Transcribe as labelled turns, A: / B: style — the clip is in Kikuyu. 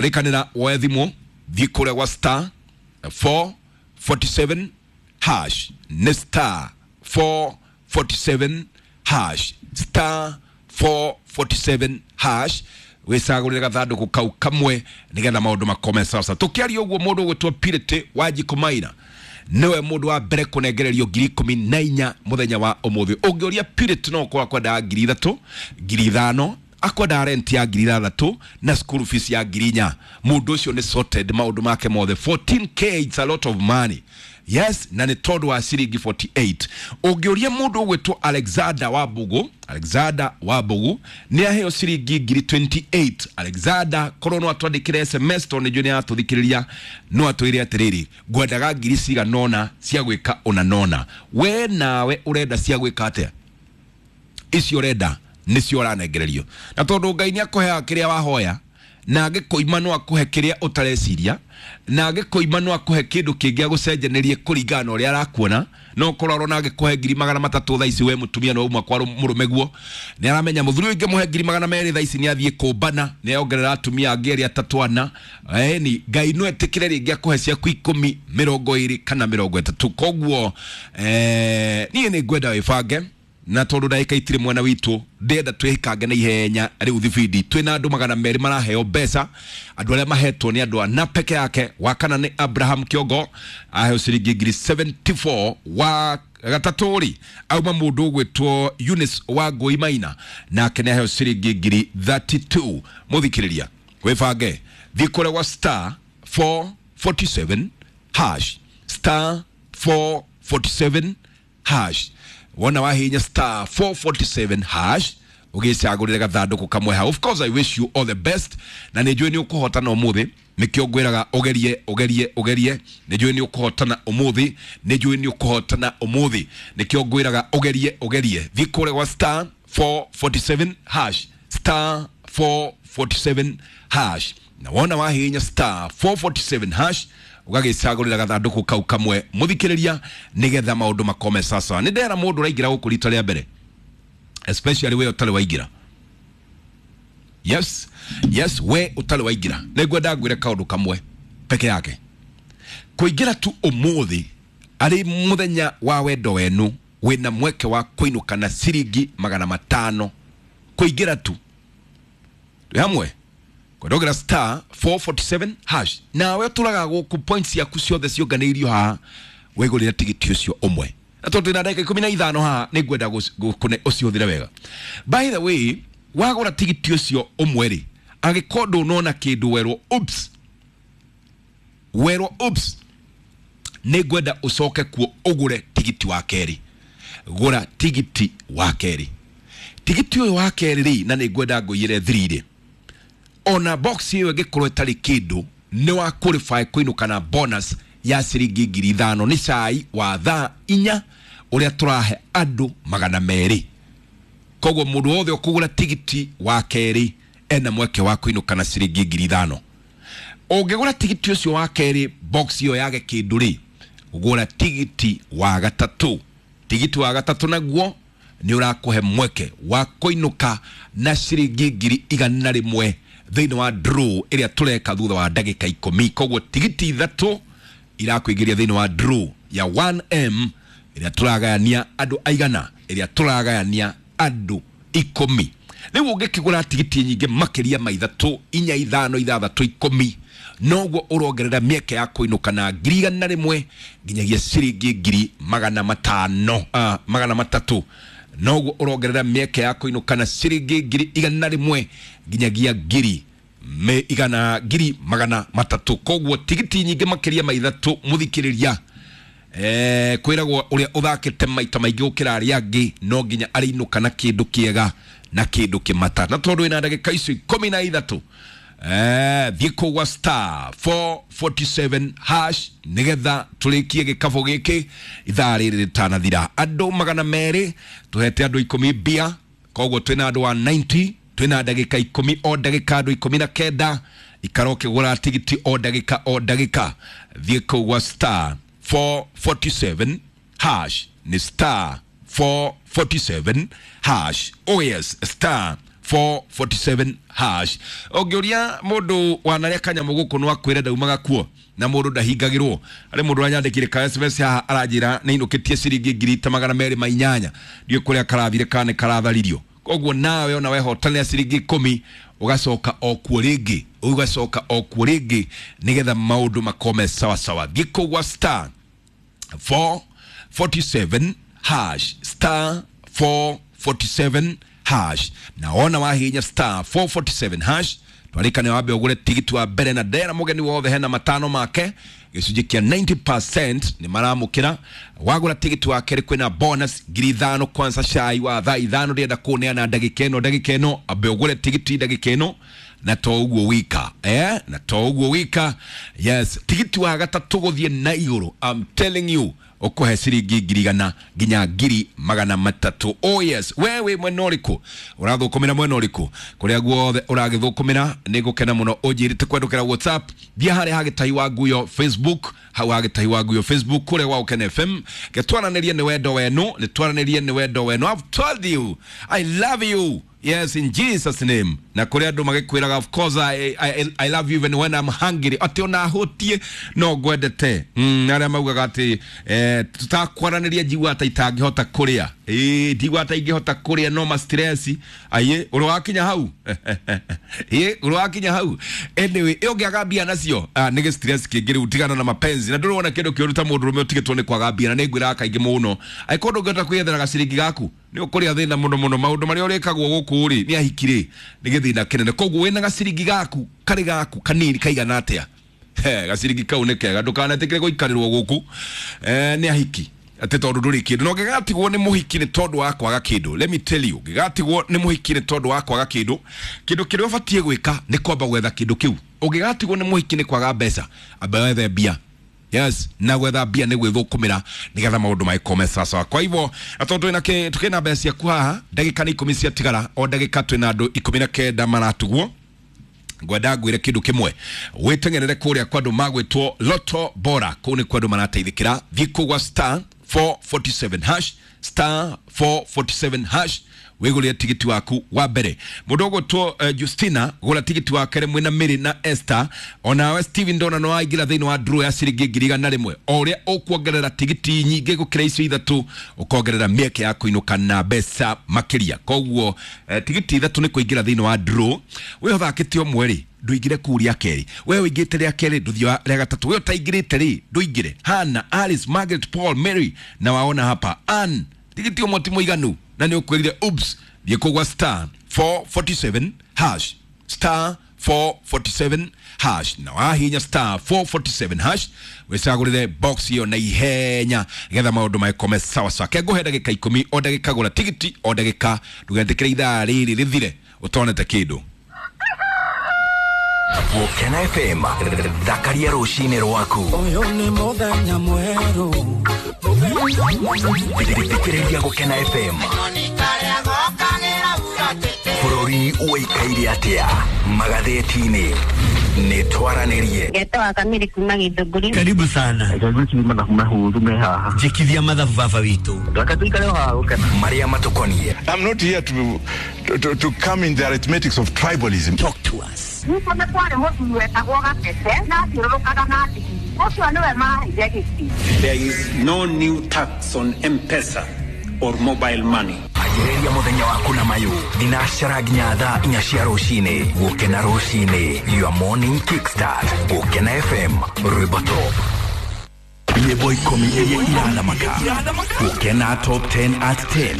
A: Rĩkanĩra woe thimũ, thiĩ kũrĩa gwa star 447 hash, nĩ star 447 hash, star 447 hash, wĩcagũrĩre gathandũkũ kau kamwe nĩgetha maũndũ makome sasa. Tũkĩaria ũguo, mũndũ ũgwĩtwo Purity Wanjikũ Maina nĩwe mũndũ wa mbere kũnengererio 14,000 mũthenya wa ũmũthĩ. Ũngĩũria Purity, no ũkorwo akwendaga 3,000, 5,000, akwendaga rent ya 6,000 na school fees ya 4,000. Mũndũ ũcio nĩ sorted maũndũ make mothe. 14K, it's a lot of money. Yes, na nĩ tondũ wa ciringi 48. Ũngĩũria mũndũ ũgwĩtwo Alexander Wambugu, Alexander Wambugu nĩ aheo ciringi 28,000. Alexander, korwo no atwandĩkĩre SMS, tondũ nĩ njũĩ nĩ aratũthikĩrĩria, no atwĩre atĩrĩrĩ, ngwendaga ngiri cigana ũna cia gwĩka ũna nona. We nawe ũrenda cia gwĩka atĩa? Icio ũrenda nĩcio ũranengererio. Na tondũ Ngai nĩ akũheaga kĩrĩa wahoya, na angĩkũima no akũhe kĩrĩa ũtareciria, na angĩkũima no akũhe kĩndũ kĩngĩ agũcenjanĩrie kũringana na ũrĩa arakuona. No ũkorwo arona angĩkũhe 300,000 thaa ici, we mũtumia no uma kwa mũrũme guo, nĩ aramenya mũthuri ũyũ ingĩmũhe 200,000 thaa ici nĩ athiĩ kũmbana, nĩ ongerera atumia angĩ erĩ atatũ ana. Ĩni Ngai no etĩkĩre rĩngĩ akũhe ciaku 10, 20 kana 30. Koguo niĩ nĩ ngwenda wĩbange, na tondũ ndagĩka itirĩ mwena witũ, ndĩrenda twĩkange na ihenya. Rĩu thibindi twĩna andũ 200 maraheo mbeca. Andũ arĩa mahetwo nĩ andũ ana peke yake. Wa kana nĩ Abraham Kĩongo, aheo ciringi 74,000. Wa gatatũ rĩ, auma mũndũ ũgwĩtwo Eunice wa Ngũi Maina, nake nĩ aheo ciringi 32,000. Mũthikĩrĩria, wĩbange, thiĩ kũrĩa gwa star 447 hash, star 447 hash. Wona wahinya star 447 hash, ũgĩcagũrĩre gathandũkũ kamwe hau. Of course, I wish you all the best, na nĩ njũĩ nĩ ũkũhotana ũmũthĩ. Nĩkĩo ngwĩraga ũgerie, ũgerie, ũgerie. Nĩ njũĩ nĩ ũkũhotana ũmũthĩ, nĩ njũĩ nĩ ũkũhotana ũmũthĩ. Nĩkĩo ngwĩraga ũgerie, ũgerie. Thiĩ kũrĩa gwa star 447 hash, star 447 hash, na wona wahihinya star 447 hash, ũgagĩcagũrĩra gathandũkũ kau kamwe, mũthikĩrĩria, nĩgetha maũndũ makome sasa. Nĩ ndera mũndũ ũraingĩra gũkũ rita rĩa mbere, especially we ũtarĩ waingĩra. Yes, we ũtarĩ waingĩra, nĩ ngwenda ngwĩre kaũndũ kamwe peke yake. Kũingĩra tu ũmũthĩ arĩ mũthenya wa wendo wenu, wĩna mweke wa kũinũka na ciringi 500. Kũingĩra tu. Twĩ hamwe kwendogera star 447 hash, nawe ũtũraga gũkũ, points ciaku ciothe ciũnganĩirio haha, wĩgũrĩre tigiti ũcio ũmwe. Na tondũ twĩna ndagĩka 15 haha, nĩ ngwenda ũcihũthĩre wega. By the way, wagũra tigiti ũcio ũmwe rĩ, angĩkorwo ndũnona kĩndũ, werwo oops, werwo oops, nĩ ngwenda ũcoke kuo ũgũre tigiti wa kerĩ. Gũra tigiti wa kerĩ. Tigiti ũyũ wa kerĩ rĩ, na nĩ ngwenda ngũiyĩre thiri rĩ, ona box ĩyo ĩngĩkorwo ĩtarĩ kĩndũ, nĩ wa qualify kũinũka na bonus ya ciringi 5,000. Nĩ cai wa thaa 4 ũrĩa tũrahe andũ 200. Koguo mũndũ wothe ũkũgũra tigiti wa kerĩ ena mweke wa kũinũka na ciringi 5,000. Ũngĩgũra tigiti ũcio wa kerĩ, box ĩyo yage kĩndũ rĩ, gũra tigiti wa gatatũ. Tigiti wa gatatũ naguo nĩ ũrakũhe mweke wa kũinũka na ciringi 100,000 thĩinĩ wa draw ĩrĩa tũreka thutha wa ndagĩka 10. Koguo tigiti ithatũ irakũingĩria thĩinĩ wa draw ya 1M ĩrĩa tũragayania andũ aigana, ĩrĩa tũragayania andũ 10. Rĩu ũngĩkĩgũra tigiti nyingĩ makĩria ma ithatũ, inya, ithano, ithathatũ, 10, noguo ũrongerera mĩeke ya kũinũka na 100,000 nginyagia ciringi 500,000, 300. Noguo ũrongerera mĩeke ya kũinũka na ciringi 100,000 nginyagia ngiri me igana 300,000. Koguo tigiti nyingĩ makĩria ma ithatũ, mũthikĩrĩria, kwĩragwo ũrĩa ũthakĩte maita maingĩ gũkĩra arĩa angĩ no nginya arĩinũka na kĩndũ kĩega na kĩndũ kĩmata. Na tondũ wĩna ndagĩka icio 13, thiĩ kũu gwa star 447 hash nĩgetha tũrĩkie gĩkabũ gĩkĩ ithaa rĩrĩ rĩtanathira. Andũ 200, tũhete andũ 10 mbia, koguo twĩna andũ wa 90. Twĩna ndagĩka 10, o ndagĩka andũ 19. Ikara ũkĩgũra tigiti o ndagĩka o ndagĩka. Thiĩ kũu gwa star 447 hash, nĩ star 447 hash. Oh yes, star. 447 hash. Ũngĩũria mũndũ wanarĩa kanyamũ gũkũ no akwĩre ndaumaga kuo na mũndũ ndahingagĩrwo. Harĩ mũndũ ũranyandĩkire ka SMS haha aranjĩra nĩ inũkĩtie ciringi 208,000, ndiũĩ kũrĩa karathire kana nĩ karatharirio. Koguo nawe ona wehotanĩra ciringi 10 ũgacoka o kuo rĩngĩ, ũgacoka o kuo rĩngĩ nĩgetha maũndũ makome sawasawa. Thiĩ kũu gwa star 447 hash, star 447 hash, na wona wahinya star 447 hash twarĩkane wambe ũgũre tigiti wa mbere na ndera mũgeni wothe hena matano make gĩcunjĩ kĩa 90% nĩ maramũkĩra. Wagũra tigiti wa kerĩ kwĩna bonus 5,000 kwanza cai wa thaa 5 ndĩrenda kũneana ndagĩka ĩno, ndagĩka ĩno ambe ũgũre tigiti ndagĩka ĩno, na to ũguo wika, na to ũguo wika. Yes, tigiti wa gatatũ gũthiĩ na igũrũ, I'm telling you, ũkũhe ciringi 100,000 nginya 300,000. Oh yes, we wĩ mwena ũrĩkũ ũrathũkũmĩra, mwena ũrĩkũ kũrĩa guothe ũragĩthũkũmĩra, nĩ ngũkena mũno ũnjĩrĩte kwendũkĩra WhatsApp. Thiĩ harĩa hagĩtahi wa nguyo Facebook, hau hagĩtahi wa nguyo Facebook kũrĩa gwa Gũkena FM, gĩtwaranĩrie nĩ wendo wenu, nĩtwaranĩrie nĩ wendo wenu. I've told you I love you. Yes, in Jesus name. Na kũrĩ andũ magĩkwĩraga of course I love you even when I'm hungry, atĩ ona hũtie no ngwendete. Arĩa maugaga atĩ tutakwaranĩria njigua ta itangĩhota kũrĩa, ĩĩ ndigua ta ingĩhota kũrĩa no ma stress aye, ũrĩ wakinya hau ĩĩ ũrĩ wakinya hau. Anyway, ĩ ũngĩaga mbia nacio nĩ gĩ stress kĩngĩ rĩu, tigana na mapenzi na ndũrona kĩndũ kĩũru ta mũndũ ũrũme ũtigĩtwo nĩ kwaga mbia. Na nĩ ngwĩraga kaingĩ mũno, angĩkorwo ndũngĩhota kwĩyethera gaciringi gaku nĩ ũkũrĩa thĩna mũno mũno. Maũndũ marĩa ũrĩkagwo gũkũ rĩ nĩ ahiki rĩ nĩ gĩthĩna kĩnene. Koguo wĩna gaciringi gaku karĩ gaku kanini kaigana atĩa, gaciringi kau nĩ kega, ndũkanetĩkĩre gũikarĩrwo gũkũ nĩ ahiki atĩ tondũ ndũrĩ kĩndũ. Na ũngĩgatigwo nĩ mũhiki nĩ tondũ wa kwaga kĩndũ, let me tell you, ũngĩgatigwo nĩ mũhiki nĩ tondũ wa kwaga kĩndũ, kĩndũ kĩrĩa ũbatiĩ gwĩka nĩ kwamba gwetha kĩndũ kĩu. Ũngĩgatigwo nĩ mũhiki nĩ kwaga mbeca, amba wethe mbia. Yes, na gwetha mbia nĩ gwĩthũkũmĩra nĩgetha maũndũ magĩkome sawasawa. Kwa hivyo na tondũ twĩna mbeca ciaku haha, ndagĩka nĩ 10 ciatigara, o ndagĩka twĩna andũ 19 maratugwo. Ngwenda ngwĩre kĩndũ kĩmwe, wĩteng'erere kũrĩa kwa andũ magwĩtwo Lotto Bora, kũu nĩ kwa andũ marateithĩkĩra. Thiĩ kũu gwa star 447 hash, star 447 hash, wĩgũrĩre tigiti waku wa mbere. Mũndũ ũgwĩtwo Justina, gũra tigiti wa kerĩ mwĩna Mary na Esther. Onawe Steven ndona no waingĩra thĩinĩ wa draw ya ciringi 101,000. O ũrĩa ũkuongerera tigiti nyingĩ gũkĩra icio ithatũ, ũkongerera mĩeke ya kũinũka na mbeca makĩria. Koguo tigiti ithatũ nĩ kũingĩra thĩinĩ wa draw. Wĩ ũthakĩte ũmwe rĩ, ndũingĩre kũu rĩa kerĩ, we ũingĩte rĩa kerĩ ndũthiĩ rĩa gatatũ, we ũtaingĩrĩte rĩ ndũingĩre. Hannah, Alice, Margaret, Paul, Mary na waona hapa Ann, tigiti ũmwe ti mũiganu na nĩ ũkwĩrire oops. Thiĩ kũu gwa star 447 hash, star 447 hash, na wahinya star 447 hash wĩcagũrĩre box ĩyo na ihenya nĩgetha maũndũ magĩkome sawasawa. Kengũhe ndagĩka 10, o ndagĩka gũra tigiti, o ndagĩka ndũgetĩkĩre ithaa rĩrĩ rĩthire ũtonete kĩndũ.
B: Gũkena FM, thakaria rũcinĩ rwaku.
C: Ũyũ nĩ mũthenya mwerũ.
B: Thikĩrĩria Gũkena FM. Bũrũri ũikaire atĩa magathĩti-inĩ, nĩ twaranĩrie.
D: Ngetwa Kamiri kuma Githũngũri.
E: Karibu sana. Njikithia mathabu baba witũ.
B: Marĩa matũkoniĩ.
F: I'm not here to come in the arithmetics of tribalism.
E: Talk to us.
D: Nĩkuo nĩ kwarĩ mũthuri wetagwo Gatete na athiũrũrũkaga na ndigiri. Ũcio nĩwe maheire gĩtĩ.
G: There is no new tax on M-Pesa or mobile money.
B: Anjĩrĩria mũthenya waku na mayũ thinacara nginya thaa 4 cia rũcinĩ. Gũkena rũcinĩ, your morning kickstart. Gũkena FM, rwĩmbo top nyĩmbo 10 iria irathamaka. Gũkena top 10 at 10.